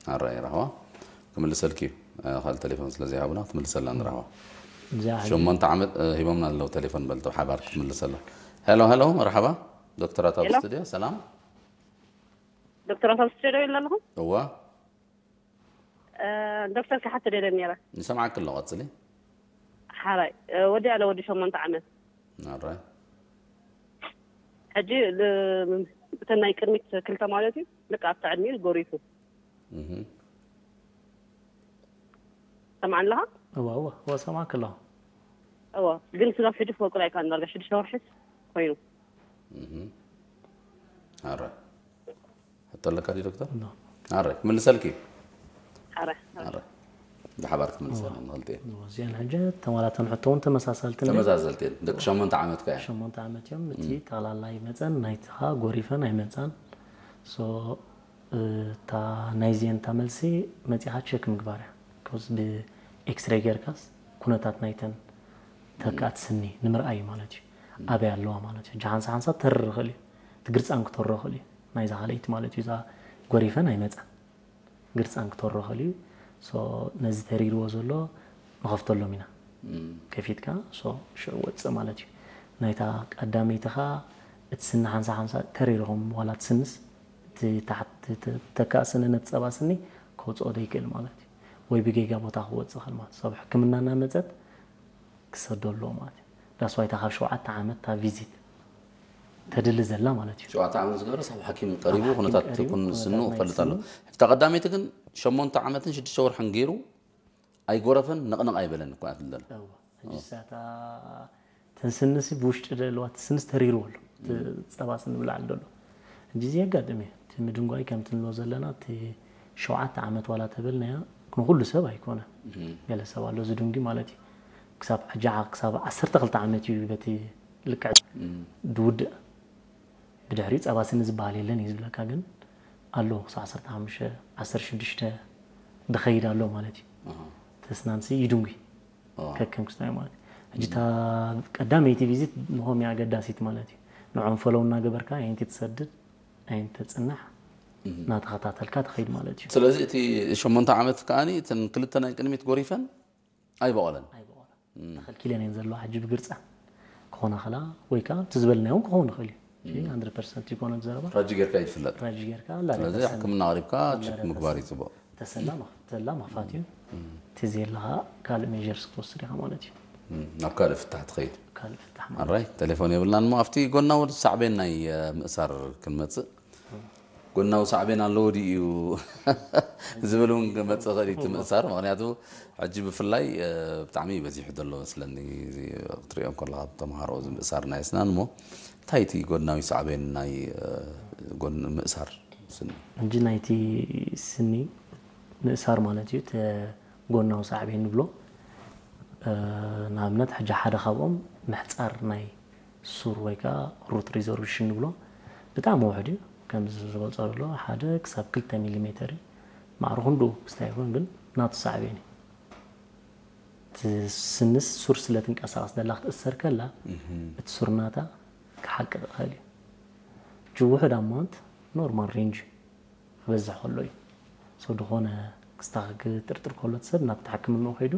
ኣራይ ራህዋ ክምልሰልኪ እዩ። ካልእ ቴሌፎን ስለ ዘይሃቡና ክትምልሰላ ንራህዋ። እዚኣ ሸሞንተ ዓመት ሂቦምና ኣለዉ ቴሌፎን በልቶ ሓባር ክትምልሰላ። ሄሎ ሄሎ፣ መርሓባ። ዶክተራት ኣብ ስቱድዮ። ሰላም። ዶክተራት ኣብ ስቱድዮ ኣለኹ። እዋ። ዶክተር ክሓት ደለ ነራ። ንሰምዓክ ኣሎ፣ ቀጽሊ። ሓራይ ወዲ ኣለ ወዲ ሸሞንተ ዓመት። ኣራይ። ሕጂ እተን ናይ ቅድሚት ክልተ ማለት እዩ፣ ልክ ኣብቲ ዕድሚኡ ጎሪፉ። ሰምዓኒ ኣለኻ? እዋ እዋ እዋ፣ ሰማዕክ ኣለኹ። እዋ፣ ግን ስጋብ ሕጂ ክወቅል ኣይከኣልን። ዳርጋ ሽዱሽተ ወርሒስ ኮይኑ። ኣረ፣ ሕቶ ኣለካ ድዩ ዶክተር? ኣረ፣ ክምልሰልኪ። ኣረ ኣረ፣ ብሓባር ክትምልሰልና ንኽልቲ። እዚኣን ሕጂ ተማላተን ሕቶ እውን ተመሳሳልቲ ነይሩ። ተመሳሰልቲ እየን። ደቂ ሸሞንተ ዓመት ከ እያ። ሸሞንተ ዓመት እዮም። እቲ ጠቕላላ ኣይመፀን፣ ናይትኻ ጎሪፈን ኣይመፃን። ሶ እታ ናይዚአን እታ መልሲ መፂኻ ቸክ ምግባር እያ። ኮዝ ብኤክስሬይ ጌርካስ ኩነታት ናይተን ተካእቲ ስኒ ንምርኣይ እዩ ማለት እዩ። ኣበይ ኣለዋ ማለት እዩ። ሕጂ ሓንሳ ሓንሳ ተርር ይኽእል እዩ። እቲ ግርፃን ክተሮ ይኽእል እዩ። ናይዛ ካልኣይቲ ማለት እዩ። እዛ ጎሪፈን ኣይመፃን። ግርፃን ክተሮ ይኽእል እዩ። ሶ ነዚ ተሪርዎ ዘሎ ንኸፍተሎም ኢና። ከፊትካ ሶ ሽዑ ወፅእ ማለት እዩ። ናይታ ቀዳመይቲ ኸዓ እቲ ስኒ ሓንሳ ሓንሳ ተሪርኹም ዋላ ትስንስ እቲ ታሕቲ ተካእ ስኒ ነቲ ፀባ ስኒ ከውፅኦ ዘይክእል ማለት እዩ። ወይ ብጌጋ ቦታ ክወፅእ ይኽእል ማለት እዩ። ሰብ ሕክምና እናመፀት ክሰዶ ኣለዎ ማለት እዩ። ዳስዋይታ ካብ ሸውዓተ ዓመት እታ ቪዚት ተድሊ ዘላ ማለት እዩ። ሸውዓተ ዓመት ዝገበረ ሳብ ሓኪም ቀሪቡ ሓኪም ኩነታት ቀሪቡ ኩን ኩነታት ስኑ ናይ ክፈልጥ ስኑ ኣለዎ። ሕጂ እታ ቀዳመይቲ ግን ሸሞንተ ዓመትን ሽዱሽተ ወርሕን ገይሩ ኣይጎረፈን ነቕነቕ ኣይበለን እኮ እያ ትብል ዘላ። እዋ። ሕጂ ሳታ ተንስንሲ ብውሽጢ ዘለዋ ትስንስ ተሪርዎ ኣሎ። እቲ ፀባ ስኒ ብላዕሊ ዘሎ። ሕጂ እዚ የጋጥም እዩ። እቲ ምድንጓይ ከምቲ ንብሎ ዘለና እቲ ሸውዓተ ዓመት ዋላ ተበልናያ ንኩሉ ሰብ ኣይኮነ። ገለ ሰብ ኣሎ ዝድንጉ ማለት እዩ። ክሳብ ሕጂ ክሳብ ዓሰርተ ክልተ ዓመት እዩ በቲ ልክዕ ዝውድእ። ብድሕሪኡ ፀባ ስኒ ዝበሃል የለን እዩ ዝብለካ፣ ግን ኣሎ ክሳብ ዓሰርተ ሓሙሽተ ዓሰርተ ሽዱሽተ ዝኸይድ ኣሎ ማለት እዩ። ተስናንሲ ይድንጉ ኦ። ከከም ክስታይ ማለት እዩ። ሕጂ እታ ቀዳመይቲ ቪዚት ንኾም እያ ኣገዳሲት ማለት እዩ። ንዖም ፈለው እናገበርካ ኣይንቲ ትሰድድ ኣይንቲ ተፅናሕ እናተኸታተልካ ትኸይድ ማለት እዩ። ስለዚ እቲ ሸሞንተ ዓመት ከዓኒ እተን ክልተ ናይ ቅድሚት ጎሪፈን ኣይበቐለን። ኣይበቐለን። ተኸልኪለን እየን ዘለዋ ሕጂ ብግርፃ ክኾና ኸላ ወይ ከዓ እቲ ዝበልናዮ እውን ክኸውን ይኽእል እዩ። እዚ ሃንድረድ ፐርሰንት ይኮነ ዘረባ። ራጂ ጌርካ ይትፍለጥ። ራጂ ጌርካ ስለዚ ሕክምና ኣቕሪብካ ቸክ ምግባር እዩ ፅቡቕ። ተሰላ መኽ- ተላ መኽፋት እዩ። እቲ ዘለኻ ካልእ ሜጀርስ ክትወስድ ኢኻ ማለት እዩ። እም፣ ናብ ካልእ ፍታሕ ትኸይድ። ካልእ ፍታሕ ማለት ኣራይ ቴሌፎን የብልናን እሞ ኣብቲ ጎናዊ ሳዕቤን ናይ እ፣ ምእሳር ክንመፅእ። ጎናዊ ሳዕቤን ኣለዎ ድዩ ዝብል እውን ክመፅእ ኽእል እዩ እቲ ምእሳር። ምክንያቱ ሕጂ ብፍላይ እ፣ ብጣዕሚ በዚሑ ዘሎ መስለኒ፣ እዚ ክትሪኦ ከለካ ተምሃሮ እዚ ምእሳር ናይ ኣስናን እሞ እንታይ እቲ ጎናዊ ሳዕቤን ናይ እ፣ ጎን ምእሳር ስኒ? እንጂ ናይቲ ስኒ ምእሳር ማለት እዩ። እቲ ጎናዊ ሳዕቤን ንብሎ እ፣ ንኣብነት ሕጂ ሓደ ካብኦም ምሕፃር ናይ ሱር ወይ ከዓ ሩት ሪዞርብሽን ንብሎ ብጣዕሚ ውሕድ እዩ። ከምዚ ዝበልፆ ዘሎ ሓደ ክሳብ ክልተ ሚሊሜተር እዩ። ማዕረ ክንድኡ ክስታይ ይኹን ግን ናቱ ሳዕቤን እዩ። እቲ ስንስ ሱር ስለ ትንቀሳቐስ ደላ ክትእሰር ከላ እቲ ሱር ናታ ክሓቅቕ ይኽእል እዩ። እቲ ውሕድ ኣማውንት ኖርማል ሬንጅ ክበዝሕ ከሎ እዩ። ሰው ዝኾነ ክስታኽ ክጥርጥር ከሎ እቲ ሰብ ናብ ተሓክምንኡ ከይዱ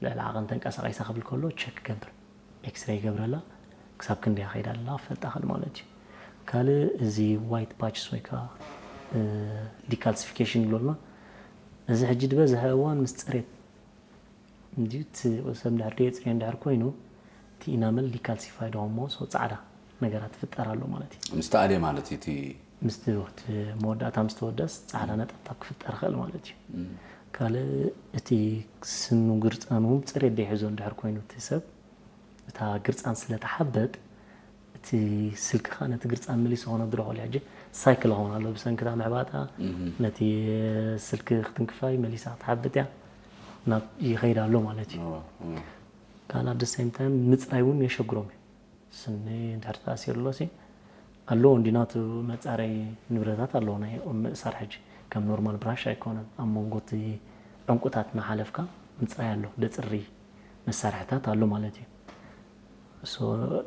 ልዕሊ ዓቐን ተንቀሳቒሳ ክብል ከሎ ቸክ ክገብር ኤክስሬይ ይገብረላ ክሳብ ክንደያ ከይዳ ኣላ ክፈልጣ ኽእል ማለት እዩ። ካልእ እዚ ዋይት ፓችስ ወይ ከዓ ዲካልሲፊኬሽን ይብሎ ድማ እዚ ሕጂ ዝበዝሐ እዋን ምስ ፅሬት እንዲዩ እቲ ሰብ እንድሕር ደየፅርዮ እንድሕር ኮይኑ እቲ ኢናመል ዲካልሲፋይድ ሆሞ ሰው ፃዕዳ ነገራት ትፍጠር ኣሎ ማለት እዩ። ምስ ተኣልየ ማለት እዩ እቲ ምስቲ እቲ መወዳእታ ምስ ተወደስ ፃዕዳ ነጠብጣብ ክፍጠር ይኽእል ማለት እዩ። ካልእ እቲ ስኑ ግርፃኑ እውን ፅሬት ደይሕዞ እንድሕር ኮይኑ እቲ ሰብ እታ ግርፃን ስለ ተሓበጥ እቲ ስልክኻ ነቲ ግርፃን መሊሱ ከነድሮ ይኽእል እዩ። ሕጂ ሳይክል ኸውን ኣሎ ብሰንክታ ምሕባጣ ነቲ ስልኪ ክትንክፋይ መሊሳ ክትሓብጥ እያ ናብ ይኸይድ ኣሎ ማለት እዩ። ካልእ ኣደ ሴም ታይም ምፅራይ እውን የሸግሮም እዩ። ስኒ እንድሕር ተኣሲሩ ኣሎ ሲ ኣለዎ እንዲ ናቱ መፃረይ ንብረታት ኣለዎ ናይ ምእሳር ሕጂ ከም ኖርማል ብራሽ ኣይኮነን ኣብ መንጎ እቲ ዕንቁታት እናሓለፍካ ምፅራይ ኣሎ ደፅሪ መሳርሕታት ኣሎ ማለት እዩ። ሶ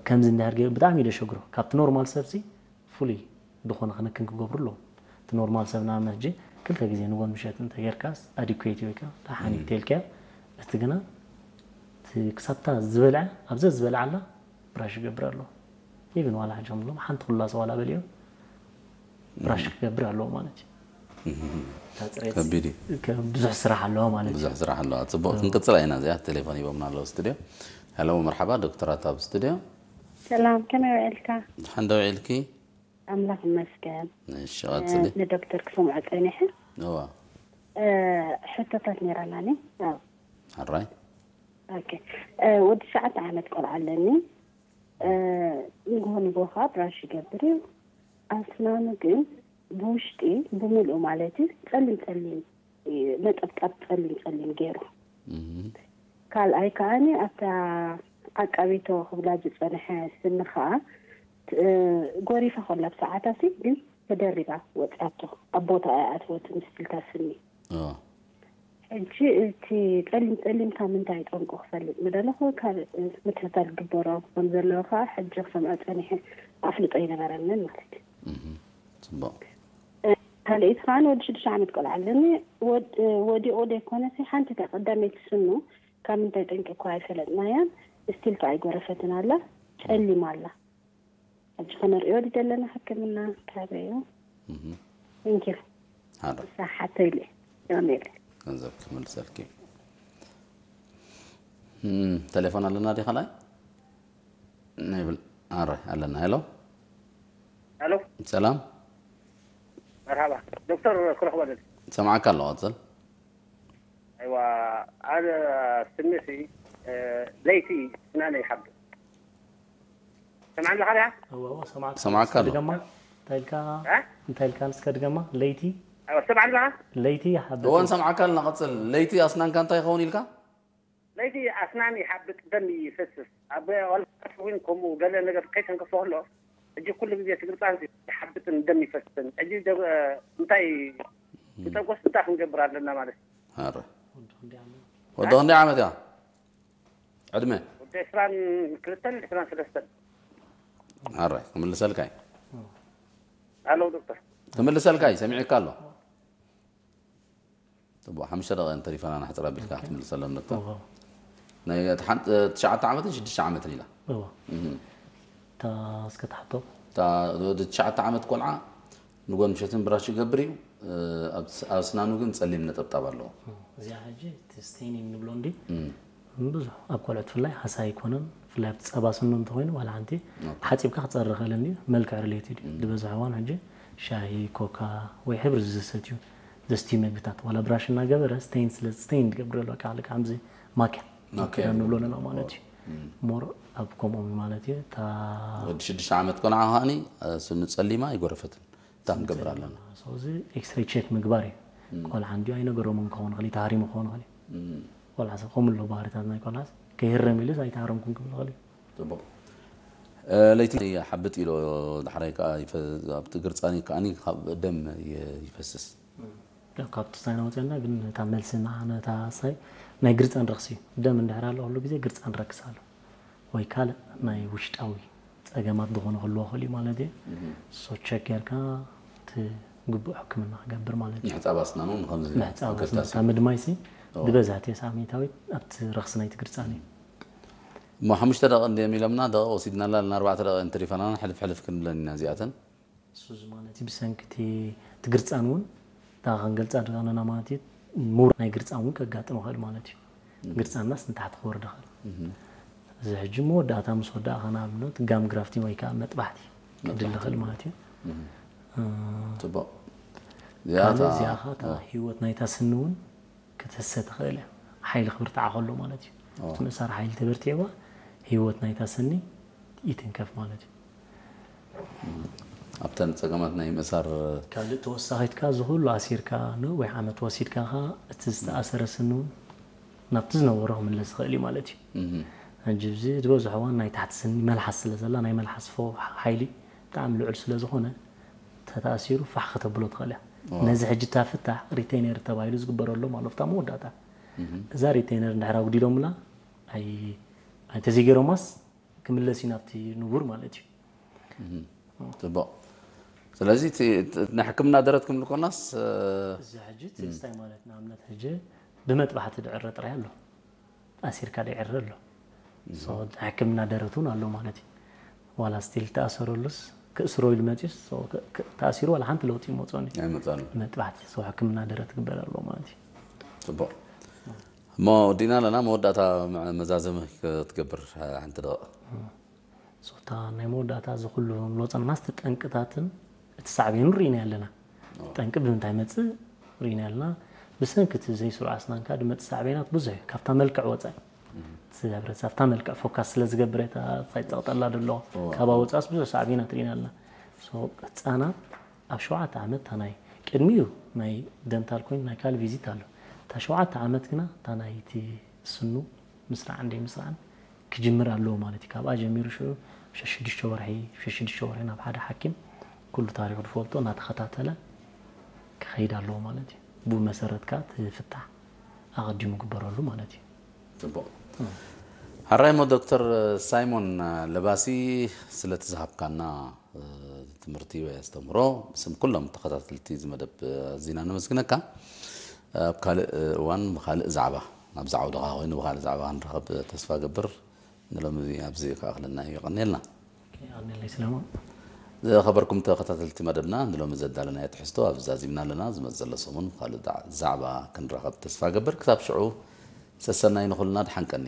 ከምዚ እንድሕር ገይሩ ብጣዕሚ እዩ ደሸግሮ ካብቲ ኖርማል ሰብሲ ፍሉይ ዝኾነ ክንክን ክገብሩ ኣለዎም። እቲ ኖርማል ሰብ ንኣብነት ሕጂ ክልተ ግዜ ንጎን ምሸት እንተጌርካስ ኣዲኩዌት ወይ ከዓ ደሓን እዩ ተልካዮ። እቲ ግና እቲ ክሳብታ ዝበልዐ ኣብዘ ዝበልዓላ ብራሽ ይገብር ኣለዎ። ኢቭን ዋላ ሕጂ ከምሎም ሓንቲ ኩላ ሰዋላ በሊዮ ብራሽ ክገብር ኣለዎ ማለት እዩ። እታ ጽሬት ከቢድ እዩ። ከ- ብዙሕ ስራሕ ኣለዎ ማለት እዩ። ብዙሕ ስራሕ ኣለዋ። ጽቡቕ፣ ክንቅጽላ ኢና። እዚኣ ቴሌፎን ሂቦምና ኣለዉ ስቱድዮ። ሄሎ፣ መርሓባ፣ ዶክተራት ኣብ ስቱድዮ። ሰላም፣ ከመይ ውዒልካ? ድሓን ዶ ውዒልኪ? ኣምላኽ ይመስገን። እሺ፣ ቀጽሊ። እ፣ ንዶክተር ክሰምዖ ጸኒሐ። እዋ። እ፣ ሕቶታት ነይራናኒ። ኣው። ሕራይ። ኦኬ። እ፣ ወዲ ትሽዓተ ዓመት ቆልዓ ኣለኒ። እ፣ ንግሆ ንግሆ ከዓ ብራሽ ይገብር እዩ። ኣስናኑ ግን ብውሽጢ ብምልኡ ማለት እዩ ጸሊም ጸሊም እዩ፣ ነጠብጣብ ጸሊም ጸሊም ገይሩ። እም። ካልኣይ ከዓኒ ኣብታ ዓቃቢቶ ክብላ ዝጸንሐ ስኒ ከኣ ት-፣ ጎሪፋ ከላ ብሰዓታሲ ግን ተደሪባ ወጺኣቶ። ኣብ ቦታ ኣይኣትወትን ስቲልታ ስኒ። ኦ። ሕጂ እቲ ጸሊም ጸሊም ካብ ምንታይ ጠንቁ ክፈልጥ ምደለኹ፣ ካብ ምክትታል ግበሮ ከም ዘለዎ ከኣ ሕጂ ክሰምዖ ጸኒሐ ኣፍልጦ ኣይነበረንን ማለት እዩ። እም። ጽቡቕ። ካልኣይቲ ከኣ ወዲ ሽዱሽተ ዓመት ቆልዓ ኣለኒ። ወድ-፣ ወዲቑ ዘይኮነሲ ሓንቲ እታ ቀዳመይቲ ስኑ ካብ ምንታይ ጠንቂ እኳ ኣይፈለጥናያን። ስቲል ከኣ ኣይጎረፈትን ኣላ፣ ጸሊም ኣላ። ሕጂ ከነርእዮ ድዩ ዘለና ሕክምና ካበይ እዩ? እም። Thank you። ሓደ። ንሳ ሓተይለ። የቐንየለይ። ገንዘብ ክምልሰልኪ። እም፣ ቴሌፎን ኣለና ድዩ ካልኣይ? ናይ ብል-፣ ኣረ፣ ኣለና። ሄሎ። ሄሎ። ሰላም። መርሃባ። ዶክተር ክረኽበ ደል። ሰማዕካ ኣለኹ፣ ቀጽል። ኣይዋ፣ ኣነ ስኒሲ፣ እ፣ ለይቲ ስናነ ይሓብጥ። ሰምዓኒ ኣለኻ ድያ? እወ፣ እወ፣ ሰማዕካ ሰማዕካ ኣለኹ። ኣለኹ። ድገማ። እንታይ ኢልካ? እ? እንታይ ኢልካ? ንስከ ድገማ። ለይቲ? ኣይዋ፣ ሰምዓኒ ኣለኻ? ለይቲ ይሓብጥ። እወ፣ ንሰምዓካ ኣለና፣ ቀጽል። ለይቲ ኣስናንካ እንታይ ይኸውን ኢልካ? ለይቲ ኣስናን ይሓብጥ፣ ደም ይፈስስ። ኣብ ዋልታ እውን ከምኡ ገለ ነገር ከይተንከፎ ከሎ፣ ሕጂ ኩሉ ግዜ እቲ ግርጻን ይሓብጥን ደም ይፈስስን። ሕጂ ደ-፣ እንታይ እም። ንጠንቆስ እንታይ ክንገብር ኣለና ማለት እዩ? ኣረ። ወዲ ክንደይ ዓመት? ወዲ ክንደይ ዓመት እያ? ዕድመ? ወዲ ዕስራን ክልተን ዕስራን ሰለስተን። ኣረ፣ ክምልሰልካ እዩ። ኦ። ኣለው ዶክተር። ክምልሰልካ እዩ፣ ሰሚዕካ ኣሎ። ጽቡቕ፣ ሓሙሽተ ደቂቕ እንተሪፈና ናሕጽር ኣቢልካ ኦኬ። ክትምልሰሎም ዶክተር። እዎ። ናይ እቲ ሓንቲ፣ ትሽዓተ ዓመትን ሽዱሽተ ዓመትን ኢላ። እዎ። እም። እታ እስከ ትሓቶ። እታ ወዲ ትሽዓተ ዓመት ቆልዓ ንጎን ምሸትን ብራሽ ይገብር እዩ። እ፣ ኣብ ስ-፣ ኣብ ኣስናኑ ግን ጸሊም ነጠብጣብ ኣለዎ። እም፣ እዚኣ ሕጂ እቲ ስቴኒንግ ንብሎ እንዲ እም። ብዙሕ ኣብ ቆልዑት ብፍላይ ሃሳይ ኣይኮነን። ብፍላይ ኣብቲ ጸባ ስኑ እንተኾይኑ ዋላ ሓንቲ ኦኬ። ሓጺብካ ክጸሪ ይኽእል እንድዩ። መልክዕ ሪሌትድ እዩ። እም። ዝበዝሕ እዋን ሕጂ ሻሂ፣ ኮካ ወይ ሕብሪ ዝሰትዩ ዘስትዩ መግብታት ዋላ ብራሽ እናገበረ ስቴን ስለ ስቴን ትገብር ኣሎ። በቃ ልክዕ ከምዚ ማኪያ ማኪያ ማኪያ ንብሎ ንብሎ። ኣለና ማለት እዩ። እም። ሞር ኣብ ከምኦም እዩ ማለት እዩ። እታ ወዲ ሽዱሽተ ዓመት ቆልዓ ከዓኒ፣ እ፣ ስኑ ጸሊማ ኣይጎረፈትን። እታ ክንገብር ኣለና። ስለዚ ኤክስሬይ ቼክ ምግባር እዩ። እም። ቆልዓ እንድዩ ኣይነገሮምን ክኸውን ይኽእል እዩ፣ ተሃሪሙ ክኸውን ይኽእል እዩ። እም። ቆልዓ ሰብ ከምኡ ኣሎ ባህርታት ናይ ቆልዓ ሰብ ከይህረም ኢሉስ ኣይተሃረምኩን ክብል ይኽእል እዩ። ጽቡቕ። እ፣ ለይቲ ይሓብጥ ኢሎ፣ ዳሕራይ ከኣ ይፈ-፣ ኣብቲ ግርጻኒ ከኣኒ ካብ ደም ይ-፣ ይፈስስ። እም። ያው ካብቲ ሳይና ወጺኣና ግን እታ መልሲ ንዓ ነታ ሳይ ናይ ግርጻን ረኽሲ እዩ። ደም እንድሕር ኣሎ ኩሉ ግዜ ግርጻን ረክስ ኣሎ። ወይ ካልእ ናይ ውሽጣዊ ጸገማት ዝኾነ ክህልዎ ይኽእል እዩ ማለት እዩ። እም። ሶ ቸክ ጌርካ እቲ ግቡእ ሕክምና ክገብር ማለት እዩ። ምሕጻብ ኣስናኑ ንኸምዚ ምሕጻብ ኣስናን፣ ኣገዳሲ። እታ ምድማይሲ እዎ። ብበዝሒ ተስዓ ሚእታዊት ኣብቲ ረኽሲ ናይቲ ግርጻን እዩ። እሞ ሓሙሽተ ደቂቕ እንድዮም ኢሎምና፣ ደቂቕ ወሲድናላ፣ ኣለና ኣርባዕተ ደቂቕ እንተሪፈናና፣ ሕልፍ ሕልፍ ክንብለን ኢና እዚኣተን። እሱ እዚ ማለት እዩ፣ ብሰንኪ እቲ፣ እቲ ግርጻን እውን፣ እታ ክንገልጻ ደለና ማለት እዩ፣ ምውራድ ናይ ግርጻን እውን ከጋጥም ይኽእል ማለት እዩ። እም። ግርጻናስ ንታሕቲ ክወርድ ይኽእል። እም። እዚ ሕጂ መወዳእታ ምስ ወዳእኻ፣ ንኣብነት ጋም ግራፍቲን ወይ ከዓ መጥባሕቲ ክድሊ መጥባሕቲ። ይኽእል ማለት እዩ። እም። እ፣ ጽቡቕ። እዚኣ ካልእ እታ፣ እዚኣ ኸዓ እታ እ። ህይወት ናይታ ስኒ እውን ክትህሰ ትኽእል እያ። ሓይሊ ክብርትዓ ከሎ ማለት እዩ። ኦ። እቲ ምእሳር ሓይሊ ተበርቲዕዋ፣ ህይወት ናይታ ስኒ ይትንከፍ ማለት እዩ። ኣብተን ጸገማት ናይ ምእሳር ካልእ ተወሳኺት ከኣ፣ እዚ ኩሉ ኣሲርካ ነዊሕ ዓመት ወሲድካ ከኣ፣ እቲ ዝተኣሰረ ስኒ እውን ናብቲ ዝነበሮ ክምለስ ይኽእል እዩ ማለት እዩ። እም። ሕጂ፣ እዚ ዝበዝሖ እዋን ናይ ታሕቲ ስኒ መልሓስ ስለ ዘላ፣ ናይ መልሓስ ፎ-፣ ሓይሊ ብጣዕሚ ልዑል ስለ ዝኾነ፣ ተተኣሲሩ ፋሕ ከተብሎ ትኽእል እያ። ዋ። ነዚ ሕጂ እታ ፍታሕ ሪቴይነር ተባሂሉ ዝግበረሎም ኣሎ፣ ኣብታ መወዳእታ። እም። እዛ ሪቴይነር እንድሕር ኣጉዲሎምላ፣ ኣይ-፣ ኣይተዘይገይሮማስ፣ ክምለስ እዩ ናብቲ ንቡር ማለት እዩ። እም። ጽቡቕ። ስለዚ እቲ ናይ ሕክምና ደረት ክንብል ኮናስ እዚ ሕጂ እቲ እንታይ ማለት ንኣብነት ሕጂ ብመጥባሕቲ ድዕረ ጥራይ ኣሎ ኣሲርካ ድዕረ ኣሎ ሕክምና ደረት እውን ኣሎ ማለት እዩ ዋላ ስቲል ተኣሰረሉስ ክእስሮ ኢሉ መፅዩስ ተኣሲሩ ዋላ ሓንቲ ለውጢ ይመፅኦኒ ኣይመፃሉ መጥባሕቲ ሰው ሕክምና ደረት ትግበር ኣሎ ማለት እዩ ፅቡቅ እሞ ወዲና ኣለና መወዳእታ መዛዘሚ ክትገብር ሓንቲ ደቕ ሶታ ናይ መወዳእታ እዚ ኩሉ ንብሎ ፀንናስ ጠንቅታትን እቲ ሳዕቤኑ ርኢና ኣለና ጠንቂ ብምንታይ መፅእ ርኢና ኣለና ብሰንኪ እቲ ዘይስሩዕ ኣስናንካ ድመፅእ ሳዕቤናት ብዙሕ እዩ ካብታ መልክዕ ወፃኢ እቲ ህብረተሰብ ኣብታ መልክዕ ፎካስ ስለ ዝገብር እታ ፀይፀቕጠላ ደሎ ካባ ወፃስ ብዙሕ ሳዕቤናት ርኢና ኣለና ህፃናት ኣብ ሸውዓተ ዓመት እታ ናይ ቅድሚኡ ናይ ደንታል ኮይኑ ናይ ካል ቪዚት ኣሎ እታ ሸውዓተ ዓመት ግና እታ ናይ እቲ ስኑ ምስራዕ እንደ ምስራዕን ክጅምር ኣለዎ ማለት እዩ ካብኣ ጀሚሩ ሽዑ ሸሽዱሽተ ወርሒ ሸሽዱሽተ ወርሒ ናብ ሓደ ሓኪም ኩሉ ታሪኹ ዝፈልጦ እናተኸታተለ ክኸይድ ኣለዎ ማለት እዩ ብኡ መሰረት ከዓ እቲ ፍታሕ ኣቐዲሙ ግበረሉ ማለት እዩ ፅቡቅ ሓራይ ሞ ዶክተር ሳይሞን ለባሲ ስለቲ ዝሃብካና ትምህርቲ ወይ ኣስተምህሮ ብስም ኩሎም ተኸታተልቲ እዚ መደብ ኣዚና ነመስግነካ ኣብ ካልእ እዋን ብካልእ ዛዕባ ናብዚ ዓውድኻ ኮይኑ ብካልእ ዛዕባ ክንረኸብ ተስፋ ገብር ንሎሚ ኣብዚ ክኣኽለና እዩ የቐንየልና ኣነለይ ስለማ ዝኸበርኩም ተኸታተልቲ መደብና ንሎሚ ዘዳለናዮ ትሕዝቶ ኣብ ዛዚምና ኣለና ዝመፅ ዘሎ ሰሙን ብካልእ ዛዕባ ክንረኸብ ተስፋ ገብር ክሳብ ሽዑ ሰሰናይ ንኹልና ድሓንቀኒ